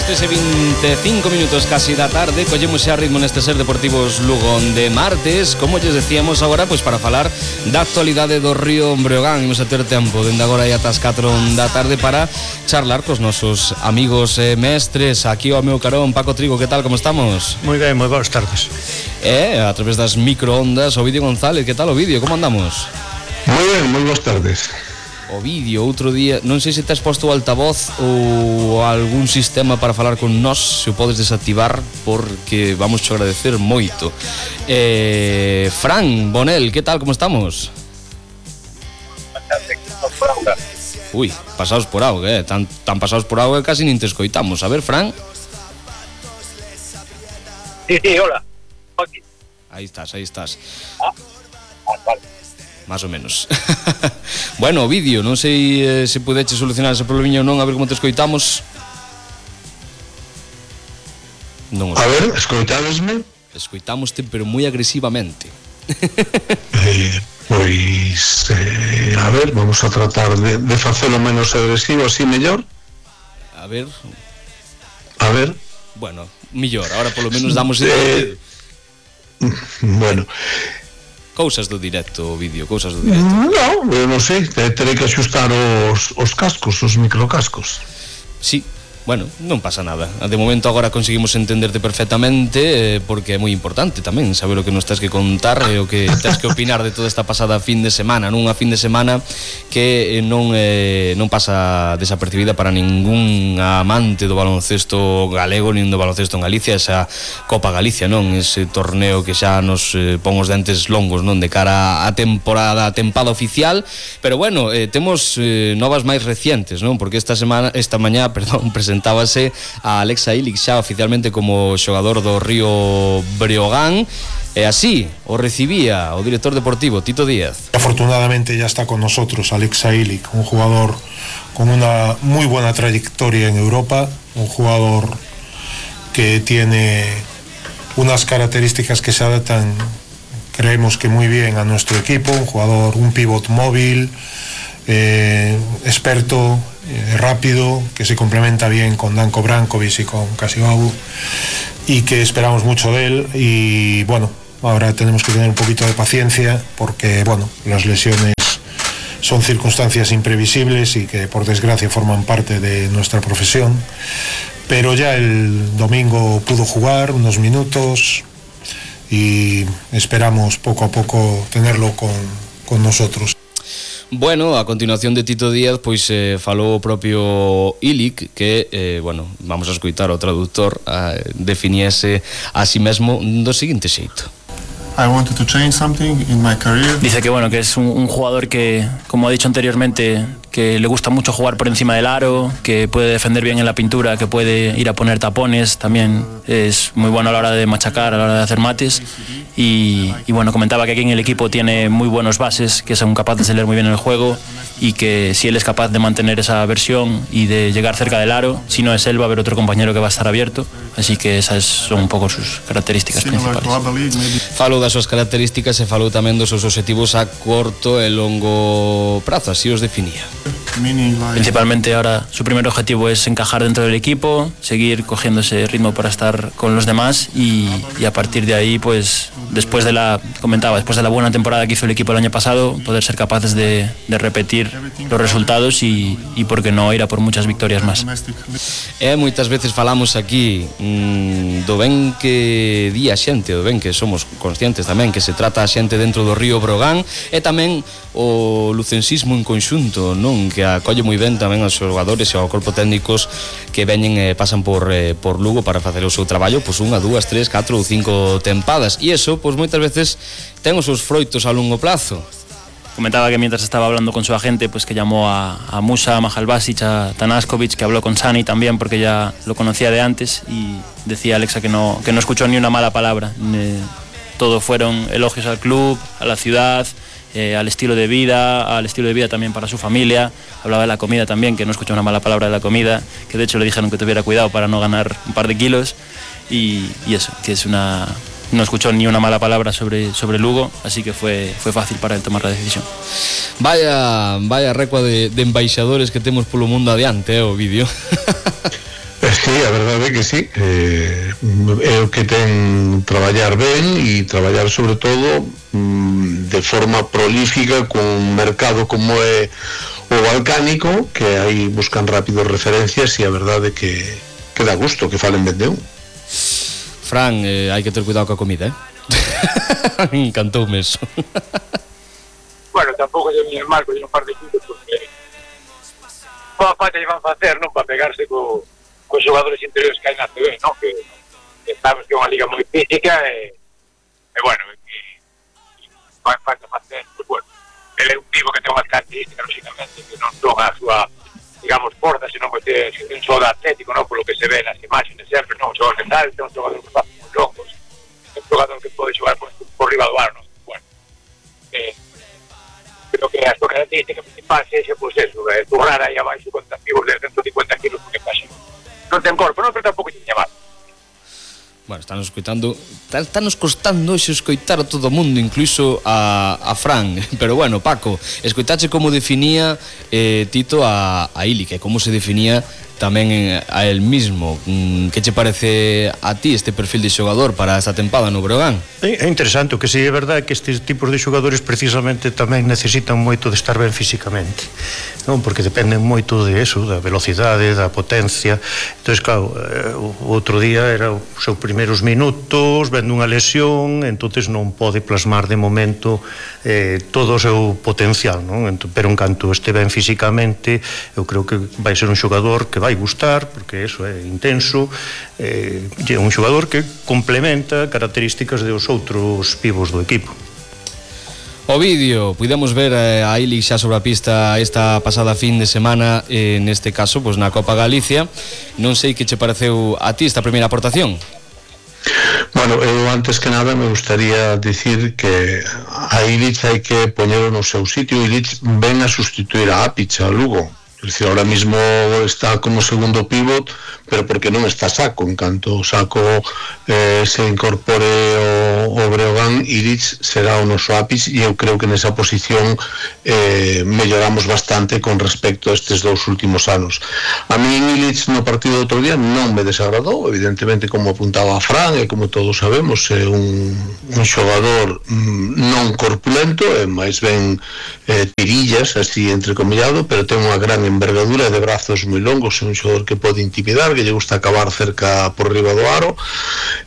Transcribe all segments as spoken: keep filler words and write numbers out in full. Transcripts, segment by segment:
As tres e vinte e cinco minutos casi da tarde, collemos xa ritmo neste Ser Deportivos Lugo de martes, como lles decíamos agora, pois para falar da actualidade do Río Breogán. Imos a ter tempo dende agora e ata as catro da tarde para charlar cos nosos amigos e mestres. Aquí ao meu carón, Paco Trigo, que tal, como estamos? Moi ben, moi boas tardes. E a través das microondas, Ovidio González, que tal, Ovidio, como andamos? Moi ben, moi boas tardes. Ovidio, outro día, non sei se te has posto o altavoz ou algún sistema para falar con nós, se o podes desactivar, porque vamos a agradecer moito. eh, Fran Bonel, que tal, como estamos? Ui, pasados por auga, eh? tan, tan pasados por auga que casi nin te escoitamos. A ver, Fran. Sí, sí, hola. Aquí. Aí estás, aí estás. Ah, ah vale. Más ou menos. Bueno, Ovidio, non sei eh, se pudeche solucionar ese problemiño ou non, a ver como te escoitamos. Non o A ver, escoitadesme? Escoitámoste, pero moi agresivamente. eh, Pois, eh, a ver, vamos a tratar de, de facelo menos agresivo, así mellor. A ver. A ver. Bueno, millor, ahora polo menos damos eh, Bueno, cousas do directo, Ovidio, cousas do directo. non, eu non sei, terei que axustar os, os cascos, os microcascos. Sí, bueno, non pasa nada. De momento agora conseguimos entenderte perfectamente, eh, porque é moi importante tamén saber o que nos tens que contar e o que tens que opinar de toda esta pasada fin de semana, nunha fin de semana que eh, non eh, non pasa desapercibida para ningún amante do baloncesto galego nin do baloncesto en Galicia, esa Copa Galicia, non? Ese torneo que xa nos eh, pon os dentes longos, non? De cara á temporada, a tempada oficial, pero bueno, eh, temos eh, novas máis recientes, non? Porque esta semana, esta mañá, perdón, presentábase a Alexa Ilic xa oficialmente como xogador do Río Breogán, e así o recibía o director deportivo Tito Díaz. Afortunadamente ya está con nosotros Alexa Ilic, un jugador con una muy buena trayectoria en Europa, un jugador que tiene unas características que se adaptan, creemos que muy bien a nuestro equipo, un jugador, un pivot móvil, eh, experto, eh, rápido, que se complementa bien con Danko Brankovic y con Kasibabu, y que esperamos mucho de él. Y bueno, ahora tenemos que tener un poquito de paciencia porque bueno, las lesiones son circunstancias imprevisibles y que por desgracia forman parte de nuestra profesión, pero ya el domingo pudo jugar unos minutos y esperamos poco a poco tenerlo con, con nosotros. Bueno, a continuación de Tito Díaz, pois eh, falou o propio Ilic, que, eh, bueno, vamos a escoitar o traductor, eh, definiese a si mesmo do seguinte xeito. I wanted to change something in my career. Dice que bueno, que es un, un jugador que, como ha dicho anteriormente, que le gusta mucho jugar por encima del aro, que puede defender bien en la pintura, que puede ir a poner tapones, también es muy bueno a la hora de machacar, a la hora de hacer mates. Y, y bueno, comentaba que aquí en el equipo tiene muy buenos bases, que son capaces de leer muy bien el juego, y que si él es capaz de mantener esa versión y de llegar cerca del aro, si no es él va a haber otro compañero que va a estar abierto, así que esas son un pouco sus características principales. Falou das súas características e falou tamén dos seus objetivos a corto e longo prazo, así os definía. Principalmente ahora su primer objetivo es encajar dentro del equipo, seguir cogiendo ese ritmo para estar con los demás y, y a partir de ahí, pues después de la, comentaba, después de la buena temporada que hizo el equipo el año pasado, poder ser capaces de, de repetir los resultados y, y por qué no ir a por muchas victorias más. E moitas veces falamos aquí mmm, do ben que di a xente, do ben que somos conscientes tamén que se trata a xente dentro do Río Breogán, e tamén o lucensismo en conxunto, non? Que acolle moi ben tamén aos xogadores e ao corpo técnicos que veñen e pasan por, eh, por Lugo para facer o seu traballo, pois unha, dúas, tres, catro ou cinco tempadas, e iso, pois moitas veces ten os seus froitos a longo plazo. Comentaba que mientras estaba hablando con su agente, pues que llamó a, a Musa, a Mahalbasic, a Tanaskovic, que habló con Sani también porque ya lo conocía de antes, y decía Alexa que no, que no escuchó ni una mala palabra. Eh, todo fueron elogios al club, a la ciudad, eh, al estilo de vida, al estilo de vida también para su familia. Hablaba de la comida también, que no escuchó una mala palabra de la comida, que de hecho le dijeron que tuviera cuidado para no ganar un par de kilos, y, y eso, que es una... no escuchó ni una mala palabra sobre, sobre Lugo, así que fue, fue fácil para él tomar la decisión. Vaya, vaya recua de, de embaixadores que temos polo mundo adiante, eh, o vídeo. Sí, a verdade é que sí, eh, é o que ten traballar ben e traballar sobre todo mm, de forma prolífica con un mercado como é o balcánico, que aí buscan rápido referencias e a verdade é que, que dá gusto que falen ben de un. Fran, eh, hai que ter cuidado coa comida, eh? Encantoume eso. Bueno, tampouco lle viñe mal con un par de puntos porque boa falta lle van facer, non? Para pegarse co, co xogadores interiores que hai na C B, non? Que, que sabemos que é unha liga moi física e, e bueno, que vai falta facer, pues bueno, ele é un tipo que ten unhas características, lógicamente, que non son a súa, digamos, porta, senón que ten un xogador atlético, non? Por lo que se ve nas imaxes sempre, non? Un xogador que salta, un xogador que faz moi longos, un xogador que pode xogar por, por riba do aro, non? Bueno, eh, creo que a súa característica principal sexa, pois eso, eh, turrar aí abaixo con activos de ciento cincuenta kilos, porque casi non ten corpo, non, pero tampouco tiña mal. Bueno, estános escoitando, estános costando hoxe escoitar a todo o mundo, incluso a, a Fran. Pero bueno, Paco, escoitache como definía eh, Tito a, a Ilic, e como se definía tamén a él mismo. Que che parece a ti este perfil de xogador para esta tempada no Breogán? É interesante, o que si é verdade que estes tipos de xogadores precisamente tamén necesitan moito de estar ben físicamente, non? Porque dependen moito de eso, da velocidade, da potencia. Entón, claro, o outro día era os seus primeiros minutos, vendo unha lesión, entonces non pode plasmar de momento eh, todo o seu potencial, non? Entón, pero en canto este ben físicamente, eu creo que vai ser un xogador que vai gustar, porque eso é intenso, eh, é un xogador que complementa características dos outros pivos do equipo. O vídeo, pudemos ver a Ilic xa sobre a pista esta pasada fin de semana, eh, neste caso, pois na Copa Galicia. Non sei que che pareceu a ti esta primeira aportación. Bueno, eu antes que nada me gustaría decir que a Ilic hai que poñelo no seu sitio. Ilic ven a sustituir a Apic, a Lugo. Es decir, ahora mismo está como segundo pivot, pero porque non está Saco. En canto Saco eh, se incorpore o, o Breogán, Ilic será o noso ápice, e eu creo que nesa posición eh, melloramos bastante con respecto a estes dous últimos anos. A mí Ilic no partido do outro día non me desagradou, evidentemente, como apuntaba a Fran, e como todos sabemos, é un, un xogador mm, non corpulento, é máis ben eh, tirillas, así entrecomillado, pero ten unha gran envergadura de brazos moi longos, é un xogador que pode intimidar, que lle gusta acabar cerca por riba do aro,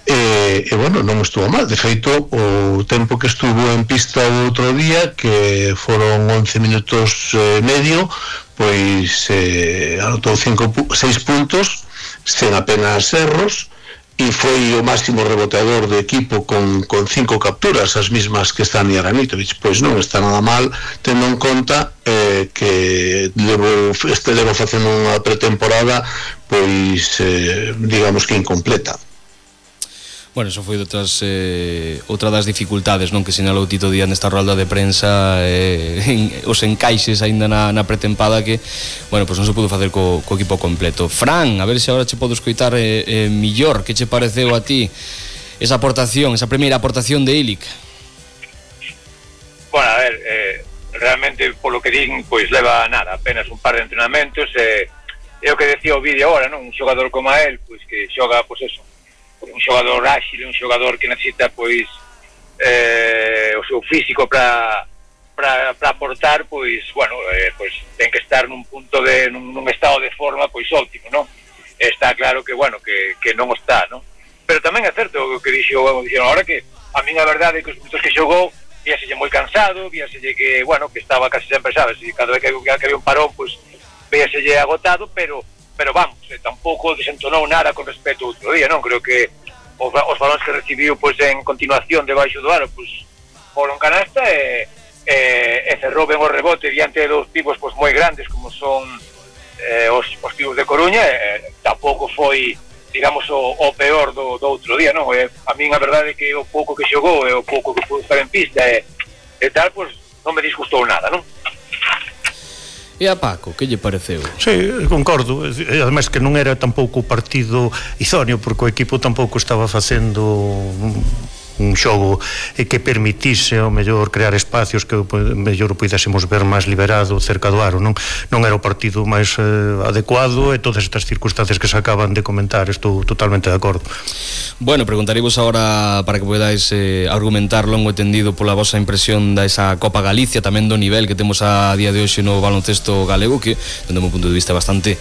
e, e bueno, non estuvo mal. De feito, o tempo que estuvo en pista o outro día, que foron once minutos e medio, pois eh, anotou cinco, seis puntos sen apenas erros, e foi o máximo reboteador do equipo con, con cinco capturas, as mismas que está Stani Aranitovic. Pois non está nada mal, tendo en conta eh, que levo, este levo facendo unha pretemporada pois eh, digamos que incompleta. Bueno, eso foi outras, eh, outra das dificultades, non, que sinalou Tito Díaz nesta rolda de prensa, eh, en, os encaixes aínda na, na pretempada que, bueno, pois non se pudo facer co, co equipo completo. Fran, a ver se agora che podo escoitar eh, eh, millor, que che pareceu a ti esa aportación, esa primeira aportación de Ilic? Bueno, a ver, eh, realmente polo que din, pois leva nada, apenas un par de entrenamentos, e eh, é o que decía o vídeo agora, non? Un xogador como a él, pois que xoga, pois eso, un xogador áxil, un xogador que necesita pois eh, o seu físico para para para aportar, pois bueno, eh, pois ten que estar nun punto de nun, nun estado de forma pois óptimo, non? Está claro que bueno, que que non está, non? Pero tamén é certo o que dixo, bueno, dixeron agora que a min a verdade é que os minutos que xogou víaselle moi cansado, víaselle que bueno, que estaba casi sempre, sabes, e cada vez que, que había un parón, pois víaselle agotado, pero pero vamos, eh, tampouco desentonou nada con respecto ao outro día, non? Creo que os, os balóns que recibiu pois en continuación debaixo do aro, pois foron canasta e, e, e cerrou ben o rebote diante dos pivos pois moi grandes como son eh, os, os pivos de Coruña, e tampouco foi, digamos, o, o peor do, do outro día, non? E, a min a verdade é que o pouco que xogou e o pouco que pudo estar en pista e, e tal, pois non me disgustou nada, non? E a Paco, que lle pareceu? Sí, concordo, e ademais que non era tampouco o partido idóneo, porque o equipo tampouco estaba facendo un xogo que permitise ao mellor crear espacios que o mellor o puidésemos ver máis liberado cerca do aro, non non era o partido máis eh, adecuado, e todas estas circunstancias que se acaban de comentar, estou totalmente de acordo. Bueno, preguntaremos agora para que podáis eh, argumentar longo e tendido pola vosa impresión da esa Copa Galicia, tamén do nivel que temos a día de hoxe no baloncesto galego, que dende o meu punto de vista bastante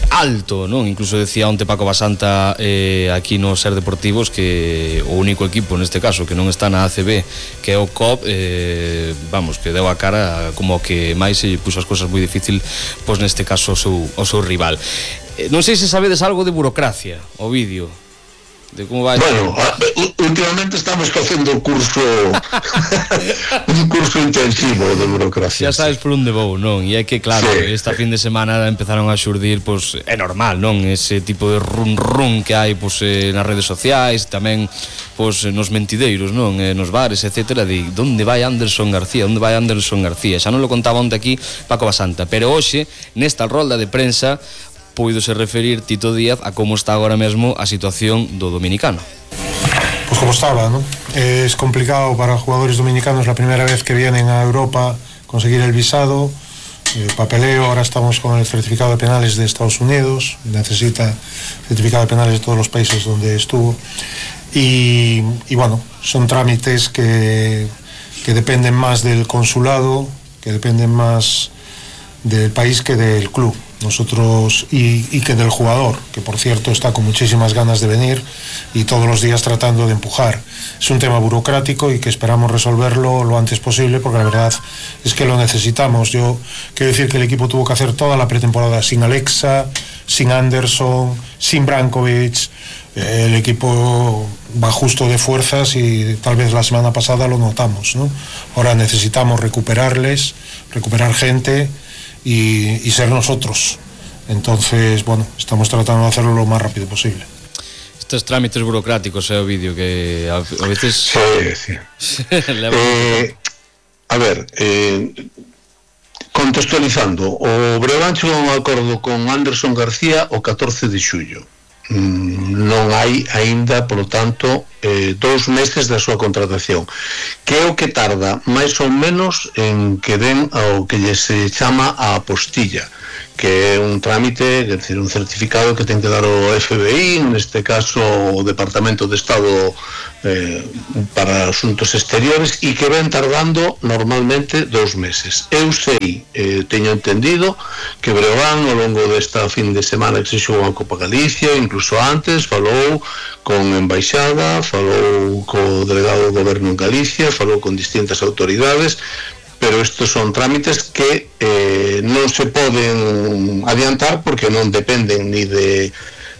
alto, non? Incluso decía onte Paco Basanta eh, aquí no Ser Deportivos que o único equipo neste caso que non está na A C B, que é o C O P, eh, vamos, que deu a cara como que máis se puxo as cousas moi difícil, pois neste caso o seu, o seu rival. eh, Non sei se sabedes algo de burocracia, o vídeo de como vai. Bueno, últimamente estamos facendo o curso un curso intensivo de burocracia. Xa sabes por onde vou, non? E é que claro, sí, esta fin de semana empezaron a xurdir, pois é normal, non? Ese tipo de run run que hai pois eh, nas redes sociais, tamén pois nos mentideiros, non? Eh, nos bares, etcétera, de onde vai Anderson García, onde vai Anderson García. Xa non lo contaba onte aquí Paco Basanta, pero hoxe nesta rolda de prensa puidose referir Tito Díaz a como está agora mesmo a situación do dominicano. Pues como estaba, ¿no? Es complicado para jugadores dominicanos la primera vez que vienen a Europa conseguir el visado, el papeleo. Ahora estamos con el certificado de penales de Estados Unidos, necesita certificado de penales de todos los países donde estuvo, y, y bueno, son trámites que, que dependen más del consulado, que dependen más del país que del club. Nosotros y, y que del jugador, que por cierto está con muchísimas ganas de venir y todos los días tratando de empujar. Es un tema burocrático y que esperamos resolverlo lo antes posible, porque la verdad es que lo necesitamos. Yo quiero decir que el equipo tuvo que hacer toda la pretemporada sin Alexa, sin Anderson, sin Brankovic. El equipo va justo de fuerzas y tal vez la semana pasada lo notamos, ¿no? Ahora necesitamos recuperarles, recuperar gente Y, y ser nosotros. Entonces, bueno, estamos tratando de hacerlo lo más rápido posible. Estos trámites burocráticos, é eh, o vídeo que a, a veces... Sí, sí. eh, a ver, eh, contextualizando, o Breogán chegou a un acordo con Anderson García o catorce de xullo. Mm, non hai aínda, polo tanto, eh, dous meses da súa contratación, que é o que tarda máis ou menos en que den ao que lle se chama a apostilla, que é un trámite, é dicir, un certificado que ten que dar o F B I, neste caso o Departamento de Estado eh, para Asuntos Exteriores, e que ven tardando normalmente dous meses. Eu sei, eh, teño entendido que Breogán ao longo desta fin de semana que se xogou a Copa Galicia, incluso antes, falou con embaixada, falou co delegado do goberno en Galicia, falou con distintas autoridades, pero estos son trámites que eh, non se poden adiantar porque non dependen ni de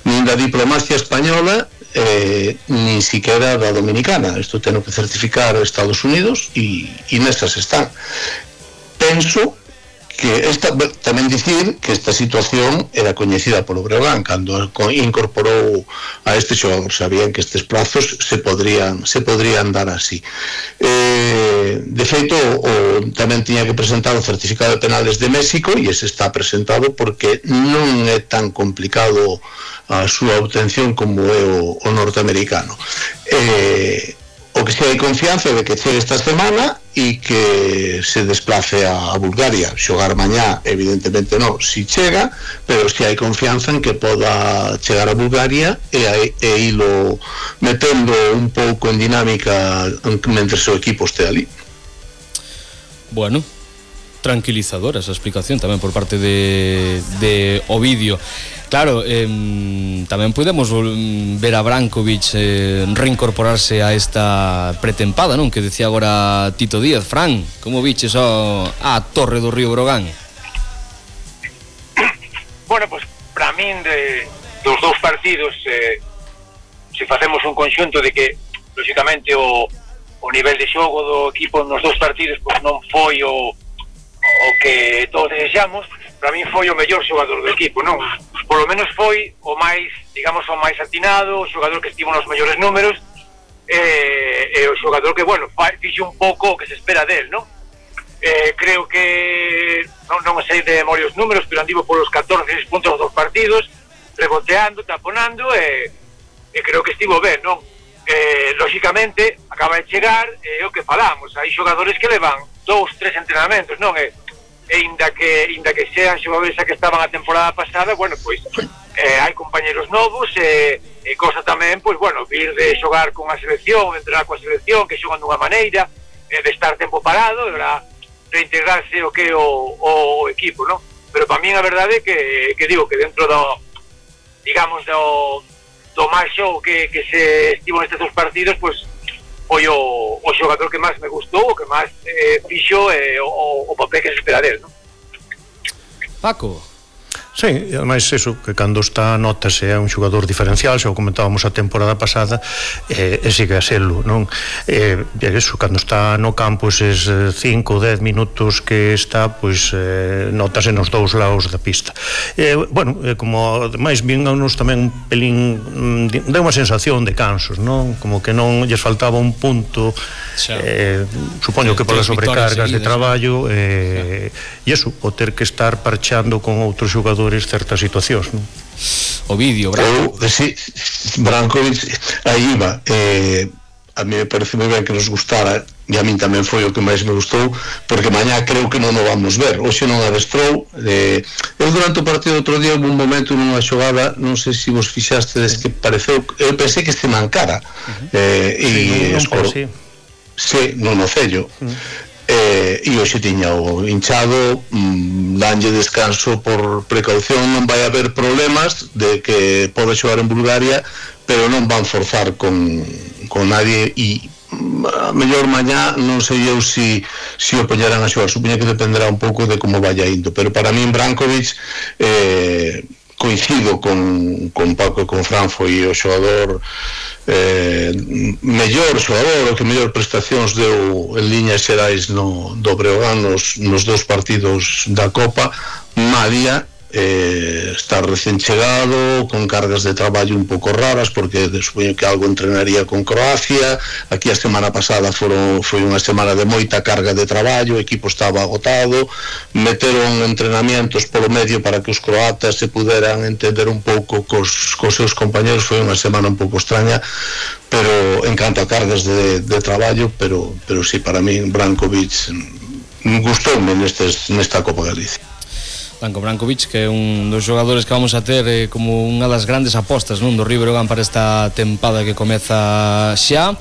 nin da diplomacia española eh, nin siquiera da dominicana. Isto ten que certificar Estados Unidos e, e nestas están. Penso que esta, tamén dicir que esta situación era coñecida polo Breogán cando incorporou a este xogador. Sabían que estes plazos se podrían se podrían dar así. Eh, de feito, o, tamén tiña que presentar o certificado de penales de México, e ese está presentado porque non é tan complicado a súa obtención como é o, o norteamericano. Eh, o que si hai confianza de que chegue esta semana e que se desplace a, a Bulgaria. Xogar mañá, evidentemente non, si chega, pero si hai confianza en que poda chegar a Bulgaria e, e ilo metendo un pouco en dinámica mentre o equipo este ali. Bueno, tranquilizadora esa explicación tamén por parte de, de Ovidio. Claro, eh, tamén podemos ver a Brankovic eh, reincorporarse a esta pretempada, non? Que decía agora Tito Díaz. Fran, como viches a, a Torre do Río Breogán? Bueno, pues para min de, dos dous partidos eh, se facemos un conxunto de que lógicamente o, o nivel de xogo do equipo nos dous partidos pues non foi o, o que todos desexamos. Para min foi o mellor xogador do equipo, non? Por lo menos foi o máis, digamos, o máis atinado, o xogador que estivo nos mellores números, e, e o xogador que, bueno, fixe un pouco o que se espera del, non? Eh, creo que, non, non sei de memoria os números, pero andivo polos catorce puntos dos partidos, reboteando, taponando, e, e creo que estivo ben, non? eh, lógicamente acaba de chegar e eh, o que falamos, hai xogadores que levan dous, tres entrenamentos, non? E, e inda que inda que sean xogadores que estaban a temporada pasada, bueno, pois eh, hai compañeros novos e, e cosa tamén, pois bueno, vir de xogar con a selección, entrenar coa selección, que xogan dunha maneira, eh, de estar tempo parado, de verdad, reintegrarse o que o, o equipo, non? Pero para mí a verdade é que, que digo que dentro do, digamos, do, do máis show que, que se estivo nestes dos partidos, pois foi o, o xogador que máis me gustou, o que máis eh, fixo eh, o, o papel que se espera del, non? Paco. Sí, e ademais eso, que cando está notase é un xogador diferencial, xa o comentábamos a temporada pasada, e, e sigue a serlo, non? E, e eso, cando está no campo eses cinco ou dez minutos que está, pois eh, notase nos dous lados da pista. E, bueno, e como ademais vinganos tamén un pelín, dá unha sensación de cansos, non? Como que non lles faltaba un punto, eh, supoño que polas sobrecargas de traballo, e, e eso, o ter que estar parchando con outros xogadores certas situacións, non? O vídeo, Branco. Eu, sí, Brankovic, aí iba. Eh, a mí me parece moi ben que nos gustara, e a min tamén foi o que máis me gustou, porque mañá creo que non o vamos ver. Hoxe non adestrou. Eh, eu durante o partido outro día houve un momento nunha xogada, non sei se vos fixastedes, que pareceu, eu pensei que se mancara. Uh-huh. eh, e sí, non, non escoro, sí. Sí, non o cello. Uh-huh. Eh, e hoxe tiña o hinchado, mmm, danlle descanso por precaución, non vai haber problemas de que pode xogar en Bulgaria, pero non van forzar con, con nadie, e a mellor mañá non sei eu si, si o poñerán a xogar, supoño que dependerá un pouco de como vaya indo, pero para min Brankovic eh, coincido con, con Paco e con Fran, foi o xogador eh, mellor xogador, o que mellor prestacións deu en liñas xerais no, do Breogán nos, nos dous partidos da Copa. Malia eh, está recén chegado, con cargas de traballo un pouco raras, porque supoño que algo entrenaría con Croacia. Aquí a semana pasada foron, foi unha semana de moita carga de traballo, o equipo estaba agotado, meteron entrenamientos polo medio para que os croatas se puderan entender un pouco cos, cos seus compañeros. Foi unha semana un pouco extraña, pero en canto a cargas de, de traballo, pero, pero sí, para mí Brankovic gustoume nestes, nesta Copa Galicia. Branko Brankovic, que é un dos xogadores que vamos a ter eh, como unha das grandes apostas, non, do Río Breogán para esta tempada que comeza xa.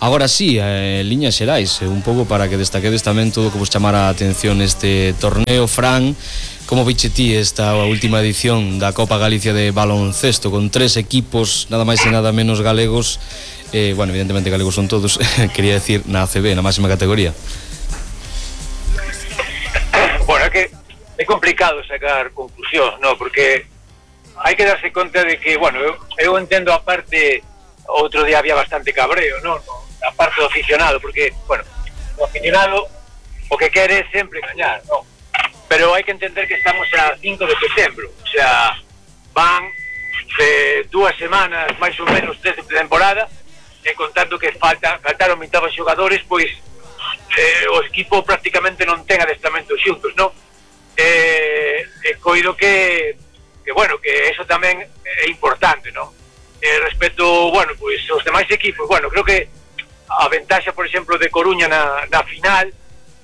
Agora sí, eh, liñas xerais, eh, un pouco para que destaquedes tamén todo o que vos chamara a atención este torneo. Fran, como viche ti esta última edición da Copa Galicia de baloncesto, con tres equipos, nada máis e nada menos galegos, eh, bueno, evidentemente galegos son todos, quería decir na A C B, na máxima categoría? Bueno, é que é complicado sacar conclusións, no, porque hai que darse conta de que, bueno, eu, eu entendo a parte, outro día había bastante cabreo, no, no, a parte do aficionado, porque, bueno, o aficionado o que quere é sempre gañar, no, pero hai que entender que estamos a cinco de setembro, o sea, van de dúas semanas, máis ou menos tres de temporada, e contando que falta, faltaron vinte xogadores, pois eh, o equipo prácticamente non ten adestramento xuntos, no? Eh, eh, coido que, que bueno, que eso tamén é importante, ¿no? Eh, respecto, bueno, pois pues, os demais equipos, bueno, creo que a ventaxa, por exemplo, de Coruña na, na final,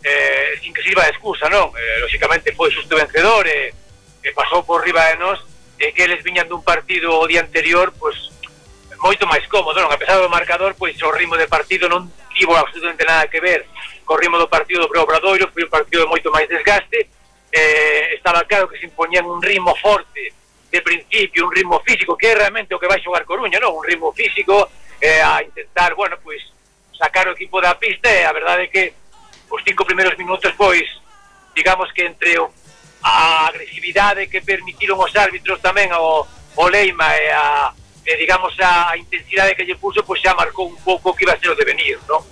eh, sin que sirva de excusa, non? Eh, lógicamente foi xusto vencedor, e eh, pasou por riba de nós, e eh, que eles viñan dun partido o día anterior, pois pues, moito máis cómodo, non? A pesar do marcador, pois pues, o ritmo de partido non tivo absolutamente nada que ver co ritmo do partido do Obradoiro, foi un partido de moito máis desgaste. Eh, estaba claro que se impoñían un ritmo forte de principio, un ritmo físico, que é realmente o que vai xogar Coruña, non? Un ritmo físico, eh, a intentar, bueno, pois sacar o equipo da pista, e a verdade é que os cinco primeiros minutos, pois digamos que entre o, a agresividade que permitiron os árbitros tamén, o, o Leima e a e digamos a, a intensidade que lle puso, pois xa marcou un pouco que iba a ser o devenir, non?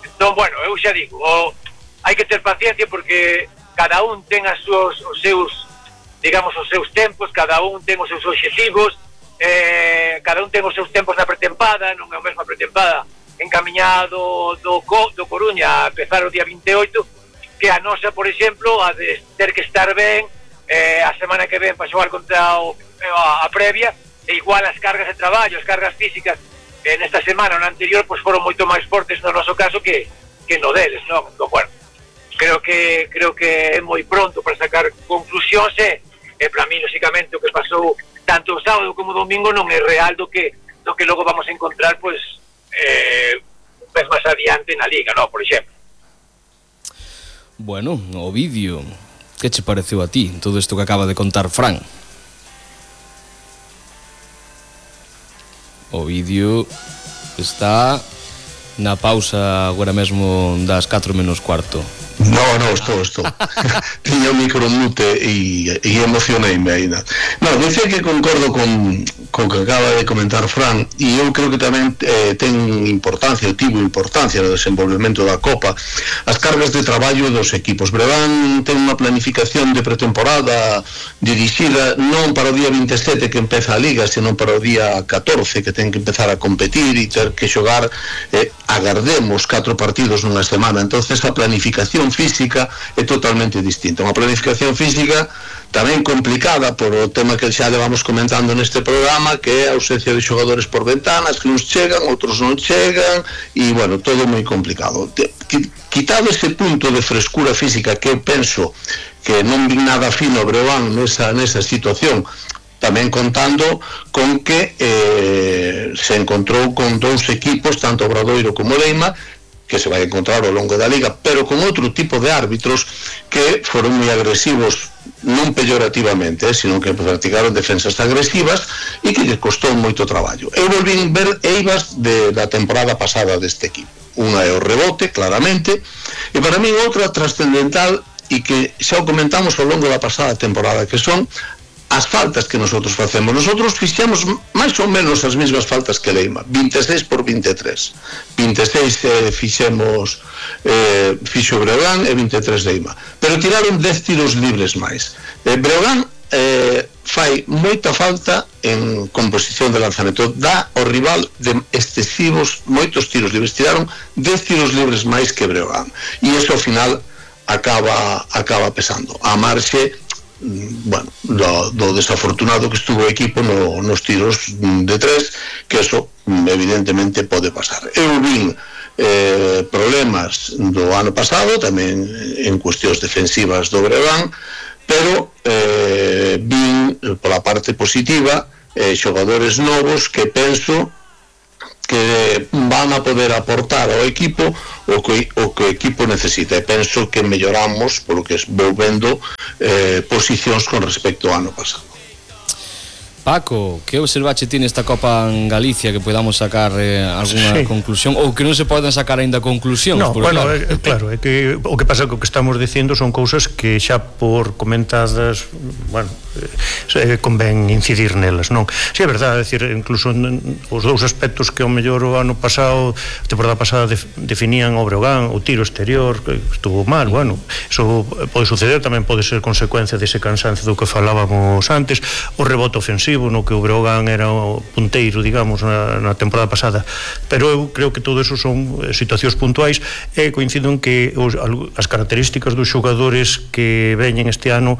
Entón, bueno, eu xa digo, o, hai que ter paciencia, porque cada un ten as súas, os seus, digamos, os seus tempos, cada un ten os seus obxectivos, eh, cada un ten os seus tempos na pretempada, non é o mesmo a pretempada encaminhado do, do Coruña a empezar o día vinte e oito, que a nosa, por exemplo, a de ter que estar ben eh, a semana que ven para xogar contra o, a, a previa, e igual as cargas de traballo, as cargas físicas eh, nesta semana, no anterior, pois foron moito máis fortes no noso caso que, que no deles, non? No, bueno, creo que creo que é moi pronto para sacar conclusións e, e para mí, lógicamente, o que pasou tanto o sábado como o domingo non é real do que, do que logo vamos a encontrar, pois, eh, un vez máis adiante na Liga, non? Por exemplo. Bueno, Ovidio, que che pareceu a ti todo isto que acaba de contar Fran? Ovidio está na pausa agora mesmo das catro menos cuarto. No, no, estou, estou. Tiña o micro mute e, e emocioneime ainda. No, decía que concordo con, con que acaba de comentar Fran, e eu creo que tamén eh, ten importancia, tivo importancia no desenvolvemento da Copa, as cargas de traballo dos equipos. Breogán ten unha planificación de pretemporada dirixida non para o día vinte e sete que empeza a Liga, senón para o día catorce que ten que empezar a competir e ter que xogar, eh, agardemos catro partidos nunha semana. Entonces a planificación física é totalmente distinta. Unha planificación física tamén complicada por o tema que xa levamos comentando neste programa, que é a ausencia de xogadores por ventanas, que uns chegan, outros non chegan, e, bueno, todo moi complicado. Quitado ese punto de frescura física que eu penso que non vi nada fino Breogán nesa, nesa situación, tamén contando con que eh, se encontrou con dous equipos, tanto Obradoiro como Leima, que se vai encontrar ao longo da Liga, pero con outro tipo de árbitros que foron moi agresivos, non peyorativamente, eh, sino que practicaron defensas agresivas e que lle costou moito traballo. Eu volvín ver eivas de, da temporada pasada deste equipo. Unha é o rebote, claramente, e para mí outra trascendental e que xa o comentamos ao longo da pasada temporada, que son as faltas que nosotros facemos. Nosotros fixemos máis ou menos as mesmas faltas que Leima, vinte e seis por vinte e tres. vinte e seis eh, fixemos eh, fixo Breogán e vinte e tres Leima. Pero tiraron dez tiros libres máis. Eh, Breogán eh, fai moita falta en composición de lanzamento, dá ao rival de excesivos moitos tiros libres. Tiraron dez tiros libres máis que Breogán. E iso ao final acaba acaba pesando. A marxe, bueno, do, do desafortunado que estuvo o equipo no, nos tiros de tres, que eso evidentemente pode pasar. Eu vin eh, problemas do ano pasado tamén en cuestións defensivas do Breogán, pero eh, vin pola parte positiva eh, xogadores novos que penso que van a poder aportar ao equipo o que o que o equipo necesita, e penso que melloramos polo que vou vendo eh, posicións con respecto ao ano pasado. Paco, que observache ti nesta Copa en Galicia que podamos sacar eh, alguna sí. conclusión, ou que non se poden sacar aínda conclusións? No, bueno, claro. É, claro, é que o que pasa que o que estamos dicindo son cousas que xa por comentadas, bueno, eh, convén incidir nelas, non? Si, é verdade, é dicir, incluso os dous aspectos que ao mellor o ano pasado, a temporada pasada def, definían o Breogán, o tiro exterior, que estuvo mal, bueno, eso pode suceder, tamén pode ser consecuencia dese cansancio do que falábamos antes, o rebote ofensivo, no que o Breogán era o punteiro, digamos, na, na temporada pasada, pero eu creo que todo eso son situacións puntuais e coincido en que os, as características dos xogadores que veñen este ano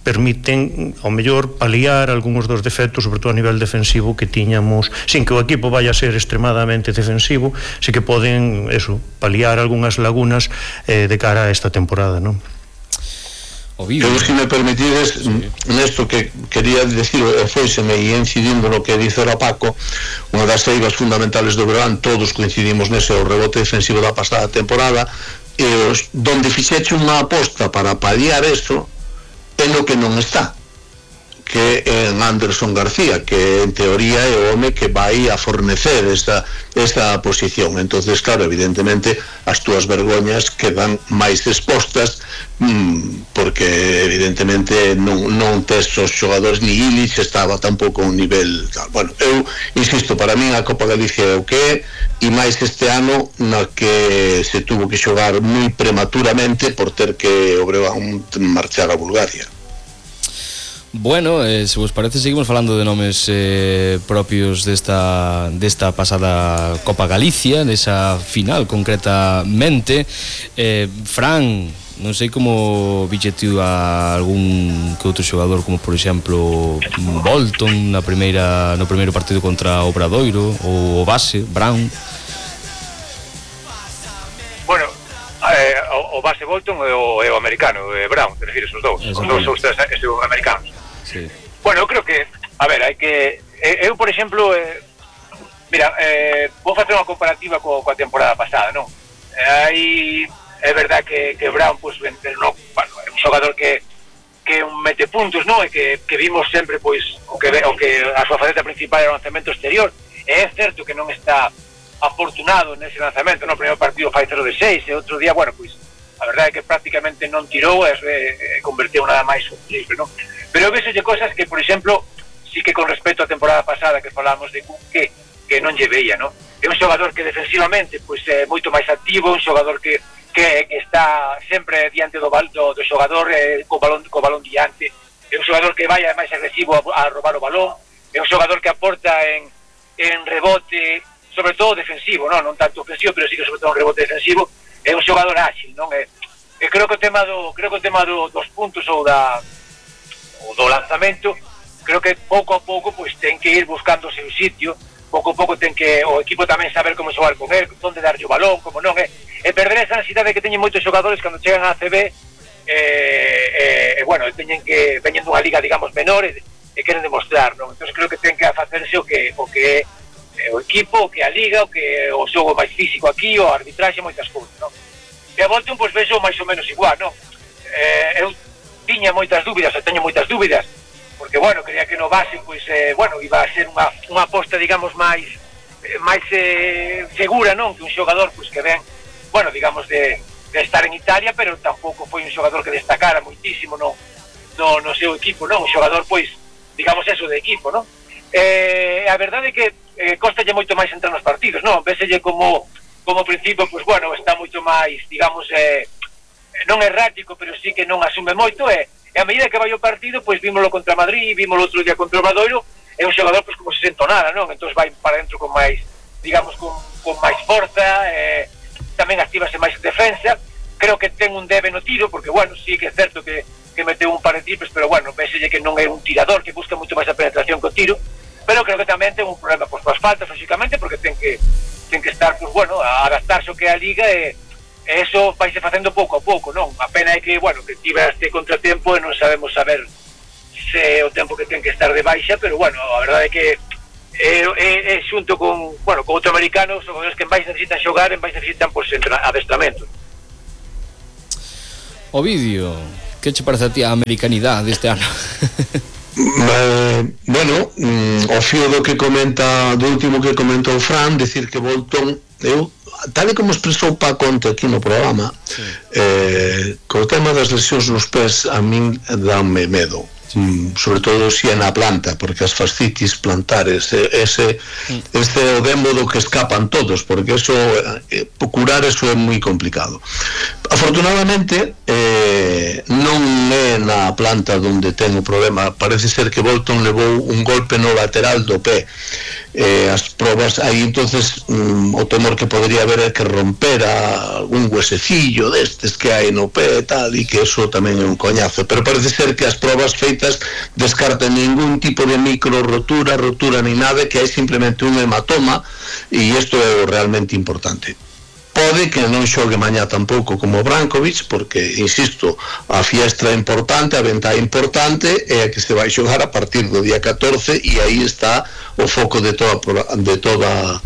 permiten ao mellor paliar algúns dos defectos, sobre todo a nivel defensivo que tiñamos, sin que o equipo vaya a ser extremadamente defensivo, si que poden eso, paliar algunhas lagunas eh, de cara a esta temporada, non? Eu, se me permitides, sí. Nesto que quería decir, e foiseme e incidindo no que dice o Paco, unha das eivas fundamentales do Breogán, todos coincidimos nese, o rebote defensivo da pasada temporada, e os, donde fixeche unha aposta para paliar eso, é no que non está, que en Anderson García, que en teoría é o home que vai a fornecer esta, esta posición. Entonces, claro, evidentemente as túas vergoñas quedan máis expostas, mmm, porque evidentemente non, non tes os xogadores, ni Illich estaba tampouco a un nivel tal. Bueno, eu insisto, para min a Copa Galicia é o que é, e máis este ano na que se tuvo que xogar moi prematuramente por ter que o Breogán marchar a Bulgaria. Bueno, eh, se vos parece seguimos falando de nomes eh, propios desta, desta pasada Copa Galicia, desa final concretamente. eh, Fran, non sei como viche tú a algún que outro xogador, como por exemplo Bolton na primeira no primeiro partido contra o Obradoiro, ou o base Brown. Bueno, eh, o, o base Bolton e o, e o americano, e Brown, te refires os dous, os dous os tres americanos. Sí. Bueno, eu creo que, a ver, hai que eu, por exemplo, eh, mira, eh, vou facer unha comparativa co, coa temporada pasada, non? Eh, aí é verdad que, que Brown, pues, no, bueno, é un xogador que que un mete puntos, non? E que, que vimos sempre, pois, o que, o que a súa faceta principal era o lanzamento exterior. E é certo que non está afortunado nese lanzamento, no primeiro partido fai cero de seis, e outro día, bueno, pois, a verdade é que prácticamente non tirou e, e, e converteu nada máis un triple, non? Pero vexolle cosas que, por exemplo, sí que con respecto á temporada pasada que falamos de que que non lle veía, non? É un xogador que defensivamente pois é moito máis activo, un xogador que, que, que está sempre diante do, do, do xogador eh, co balón co balón diante, é un xogador que vai máis agresivo a, a robar o balón, é un xogador que aporta en, en rebote, sobre todo defensivo, non, non tanto ofensivo, pero sí que sobre todo un rebote defensivo, é un xogador ágil, non? E, e creo que o tema do creo que o tema do, dos puntos ou da ou do lanzamento, creo que pouco a pouco pois ten que ir buscando o seu sitio. Pouco a pouco ten que o equipo tamén saber como xogar con él, onde darlle o balón, como non é, e perder esa ansiedade que teñen moitos xogadores cando chegan á A C B, e, e, e bueno, teñen que veñen dunha liga, digamos, menor, e, e queren demostrar, non? Entón creo que ten que facerse o que o que é o equipo, o que a liga, o que o xogo máis físico aquí, o arbitraxe, moitas cousas, non? E a Bolton, pois, vexo máis ou menos igual, non? Eh, eu tiña moitas dúbidas, e teño moitas dúbidas, porque, bueno, creía que no base, pois, eh, bueno, iba a ser unha, unha aposta, digamos, máis eh, máis eh, segura, non? Que un xogador, pois, que ven, bueno, digamos, de, de estar en Italia, pero tampouco foi un xogador que destacara moitísimo no, no, no seu equipo, non? Un xogador, pois, digamos, eso de equipo, non? Eh, a verdade é que eh, costalle moito máis entrar nos partidos, non? Véselle como, como principio, pois, bueno, está moito máis, digamos, eh, non errático, pero sí que non asume moito, e eh, E a medida que vai o partido, pois vímolo contra Madrid, vímolo outro día contra o Obradoiro, é un xogador pois como se sento nada, non? Entón vai para dentro con máis, digamos, con, con máis forza, eh, tamén activase máis defensa. Creo que ten un debe no tiro, porque, bueno, sí que é certo que, que meteu un par de triples, pero, bueno, véselle que non é un tirador, que busca moito máis a penetración que o tiro, pero creo que tamén ten un problema pois, coas faltas, lógicamente, porque ten que, ten que estar, pois, bueno, a adaptarse ao que é a liga, e E eso vaise facendo pouco a pouco, non? A pena é que, bueno, que tiva este contratempo e non sabemos saber se o tempo que ten que estar de baixa, pero, bueno, a verdade é que é, é, é xunto con, bueno, con outro americano, os xogadores que en máis necesitan xogar, en máis necesitan, pois, adestramento. Ovidio, que che parece a ti a americanidade deste ano? Eh, bueno, mm, o fío do que comenta, do último que comentou Fran, decir que Bolton, eu tal e como expresou Paco Conte aquí no programa, sí. eh, co tema das lesións nos pés a min danme medo, sí. mm, sobre todo se é na planta, porque as fascitis plantares, ese, mm. este é o demo do que escapan todos, porque eso, eh, curar eso é moi complicado. Afortunadamente eh, non é na planta onde ten o problema, parece ser que Bolton levou un golpe no lateral do pé, eh, as probas aí entonces mm, o temor que podría haber é que rompera algún huesecillo destes que hai no pé e tal, e que eso tamén é un coñazo, pero parece ser que as probas feitas descartan ningún tipo de micro rotura, rotura ni nada, que hai simplemente un hematoma, e isto é o realmente importante. Pode que non xogue mañá tampouco como Brankovic, porque, insisto, a fiestra é importante, a venta é importante, é a que se vai xogar a partir do día catorce, e aí está o foco de toda, de toda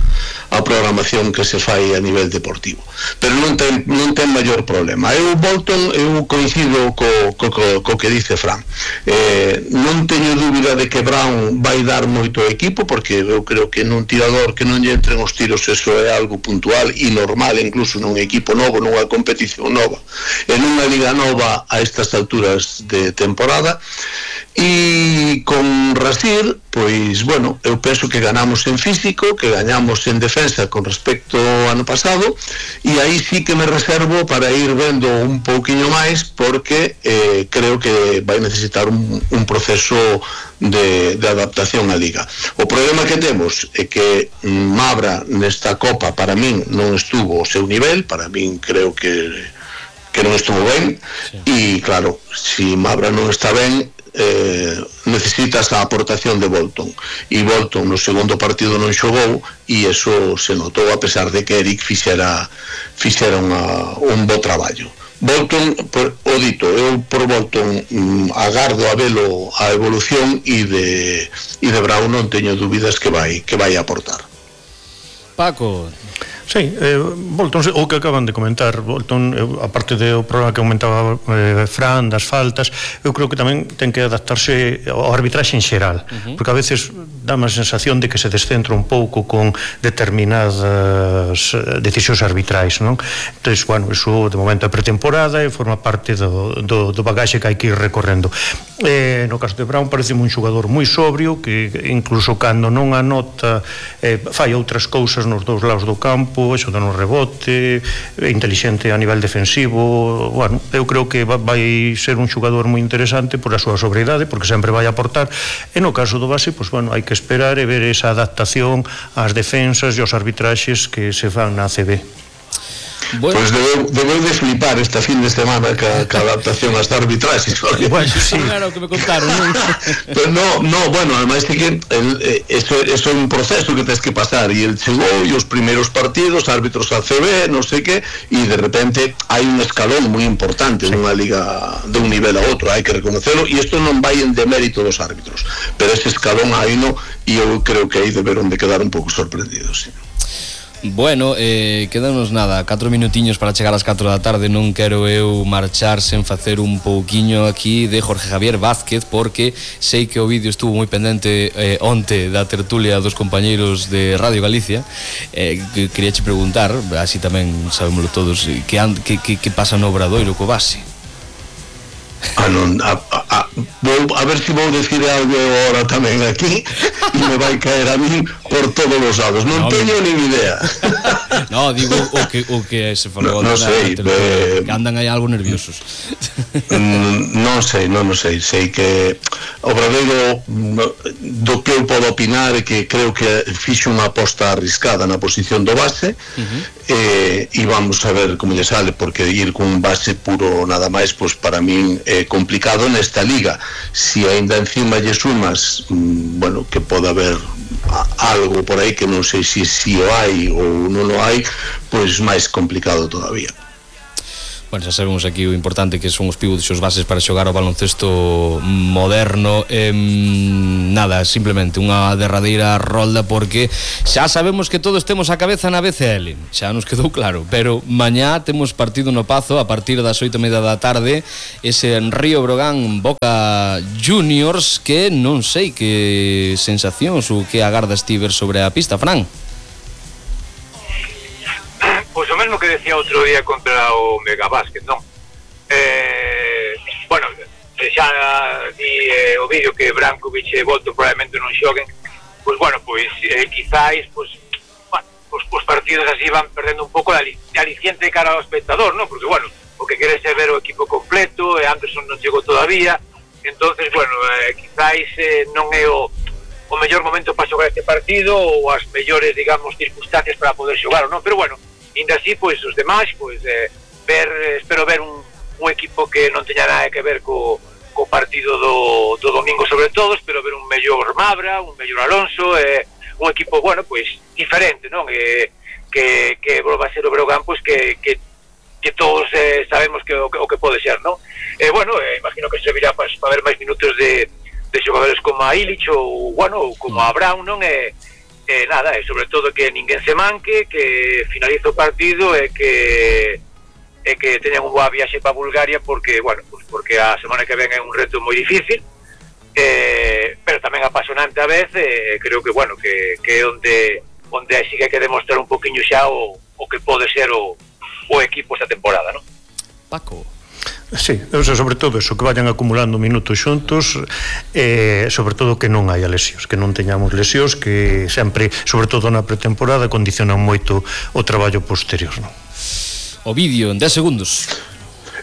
a programación que se fai a nivel deportivo. Pero non ten, non ten maior problema. Eu, Bolton, eu coincido co, co, co, co que dice Fran. Eh, non teño dúbida de que Brown vai dar moito ao equipo, porque eu creo que nun tirador que non lle entren os tiros, eso é algo puntual e normal, incluso nun equipo novo, nunha competición nova, en unha liga nova a estas alturas de temporada. E con Rasir, pois, bueno, eu penso que ganamos en físico, que gañamos en defensa con respecto ao ano pasado, e aí sí que me reservo para ir vendo un pouquiño máis, porque eh, creo que vai necesitar un, un proceso de, de adaptación á liga. O problema que temos é que Mabra nesta Copa para min non estuvo ao seu nivel, para min creo que que non estuvo ben, e claro, se Mabra non está ben, eh, necesitas a aportación de Bolton, e Bolton no segundo partido non xogou, e eso se notou a pesar de que Eric fixera fixera unha, un bo traballo. Bolton, por, o dito, eu por Bolton mm, agardo a velo a evolución, e de, e de Brown non teño dúbidas que vai que vai aportar. Paco. Sí, eh, Bolton, o que acaban de comentar, Bolton, eu, aparte do problema que comentaba eh, Fran, das faltas, eu creo que tamén ten que adaptarse ao arbitraxe en xeral, uh-huh. porque a veces dá má sensación de que se descentra un pouco con determinadas decisións arbitrais, non? Entón, bueno, iso de momento é pretemporada e forma parte do, do, do bagaxe que hai que ir recorrendo. Eh, no caso de Brown parece un xogador moi sobrio, que incluso cando non anota eh, fai outras cousas nos dous lados do campo, eso dá un rebote, é inteligente a nivel defensivo. Bueno, eu creo que vai ser un xogador moi interesante por a súa sobriedade, porque sempre vai aportar, e no caso do base, pois, bueno, hai que esperar e ver esa adaptación ás defensas e aos arbitraxes que se fan na A C B. Bueno. Pois debeu, debeu de flipar esta fin de semana ca, ca adaptación ás arbitraxes. Bueno, sí, claro que me contaron, non? Pero no, no, bueno, además é que el, eso, eso é un proceso que tens que pasar, e el chegou e os primeiros partidos, árbitros A C B, non sei que, e de repente hai un escalón moi importante, sí, nunha liga de un nivel a outro, hai que reconocerlo, e isto non vai en demérito dos árbitros, pero ese escalón hai no, e eu creo que aí deberon de quedar un pouco sorprendidos, sí. Bueno, eh, quedanos nada, catro minutiños para chegar ás catro da tarde. Non quero eu marchar sen facer un pouquiño aquí de Jorge Javier Vázquez, porque sei que o vídeo estuvo moi pendente eh, onte da tertulia dos compañeiros de Radio Galicia. eh, que quería che preguntar, así tamén sabémoslo todos, que, and, que, que, que pasa no Obradoiro co base. Ah, non, a, a, a, vou, a ver se vou decir algo agora tamén aquí e me vai caer a mí por todos os lados, non no, teño no. nin idea. No, digo o que, o que se falou no, no sei, eh, que andan aí algo nerviosos. Non sei, non, non sei, sei que o Obradoiro, do que eu podo opinar, é que creo que fixo unha aposta arriscada na posición do base, uh-huh. eh, e vamos a ver como lle sale, porque ir con base puro nada máis, pois para min é complicado nesta liga. Si ainda encima lle sumas, bueno, que pode haber algo por aí que non sei se si, si o hai ou non o hai, pois máis complicado todavía. Bueno, xa sabemos aquí o importante que son os pivots e os bases para xogar o baloncesto moderno. eh, Nada, simplemente unha derradeira rolda, porque xa sabemos que todos temos a cabeza na B C L, xa nos quedou claro, pero mañá temos partido no Pazo a partir das oito e media da tarde, ese en Río Brogan Boca Juniors, que non sei que sensacións ou que agardas ti ver sobre a pista, Fran. Pois o mesmo que decía outro día contra o Megabásquet, non? Eh, bueno, xa di eh, o vídeo que Brankovic e Bolton probablemente non xoguen, pois bueno, pois eh, quizáis, pois, bueno, os, os partidos así van perdendo un pouco de aliciente cara ao espectador, non? Porque, bueno, o que queres é ver o equipo completo, e Anderson non chegou todavía, entonces, bueno, eh, quizáis eh, non é o o mellor momento para xogar este partido, ou as mellores, digamos, circunstancias para poder xogar, non? Pero, bueno, ainda así, pois, os demais, pois, eh, ver, espero ver un, un equipo que non teña nada que ver co, co partido do, do domingo sobre todo, espero ver un mellor Mabra, un mellor Alonso, eh, un equipo, bueno, pois, diferente, non? Eh, que, que volva a ser o Breogán, pois, que, que, que todos eh, sabemos que o, que o que pode ser, non? Eh, bueno, eh, imagino que servirá para pa ver máis minutos de, de xogadores como a Illich ou, bueno, como a Brown, non? Eh, Eh, nada, e sobre todo que ninguén se manque, que finalice o partido e que e que teñan un boa viaxe para Bulgaria, porque, bueno, pues porque a semana que ven é un reto moi difícil, eh, pero tamén apasionante a vez, e eh, creo que, bueno, que, que onde onde así que hai que demostrar un poquinho xa o, o que pode ser o, o equipo esta temporada, non? Paco. Sí, o sea, sobre todo eso, que vayan acumulando minutos xuntos, eh, sobre todo que non haya lesións, que non teñamos lesións, que sempre, sobre todo na pretemporada, condicionan moito o traballo posterior, non? O vídeo en dez segundos.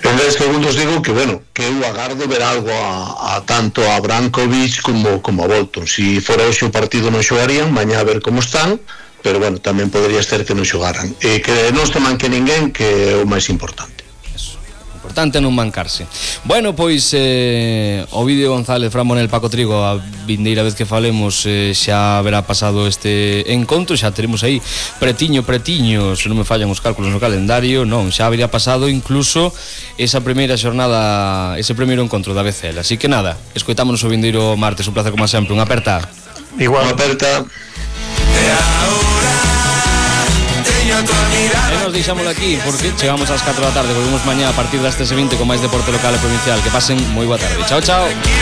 En dez segundos digo que, bueno, que eu agardo ver algo a, a tanto a Brankovic como, como a Bolton. Si fora hoxe o partido non xogarían, mañá a ver como están, pero, bueno, tamén podría ser que non xogaran. E que non se manque ninguén, que é o máis importante. importante non mancarse. Bueno, pois eh, Ovidio González, Fran Monel, Paco Trigo, a vindeira vez que falemos eh, xa haberá pasado este encontro, xa teremos aí pretiño, pretiño, se non me fallan os cálculos no calendario, non, xa habería pasado incluso esa primeira xornada, ese primeiro encontro da B C L. Así que nada, escoitámonos o vindeiro martes, un placer como sempre, unha aperta. Igual, unha aperta. E nos deixámoslo aquí porque chegamos ás catro da tarde. Volvemos mañá a partir das tres e vinte con máis deporte local e provincial. Que pasen moi boa tarde. Chao, chao.